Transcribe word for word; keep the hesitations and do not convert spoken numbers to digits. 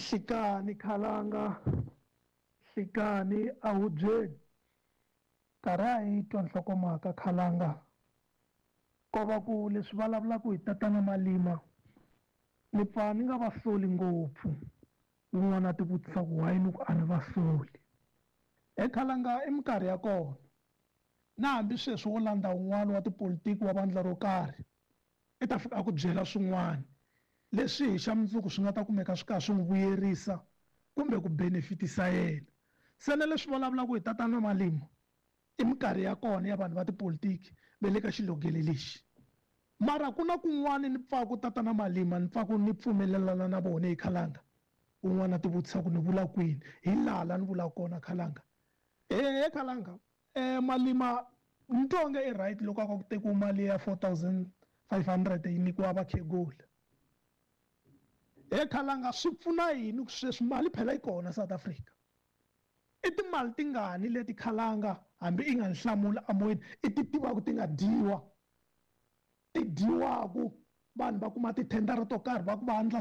Nhlikani khalanga nhlikani ahubyeni karhi a yi twa nhlokomhaka khalanga ko va ku leswi vulavulaka hi tatana Malima ni pfa ni nga va soli ngopfu un'wana a ti vutisa ku why ni ku a ni va soli he khalanga i minkarhi ya kona na hambi sweswi wo landza un'wana wa tipolitiki wa vandla ro karhi i ta fika a ku byela swin'wana leswi hi xa mundzuku swi nga ta kumeka swi karhi swi n'wi vuyerisa kumbe ku benefitisa yena se na leswi vulavulaka hi tatana Malima i minkarhi ya kona ya vanhu va tipolitiki va le ka xilogele lexi mara ku na kun'wani ni pfaku tatana Malima ni pfaku ni pfumelelana na vona hi khalanga un'wana a ti vutisa ku ni vula kwini hi laha la ni vulaka kona khalanga he khalanga um Malima ni twa onge i right loko a ku tekiwa mali ya four thousand five hundred yi nyikiwa vakhegula he khalanga swi pfuna yini ku sweswi mali phela yi kona South Africa i timali tingani leti khalanga hambi i nga ni hlamula amoyeni i ti tivaka ti nga dyiwa ti dyiwaku vanhu va kuma tithendara to karhi va ku va endla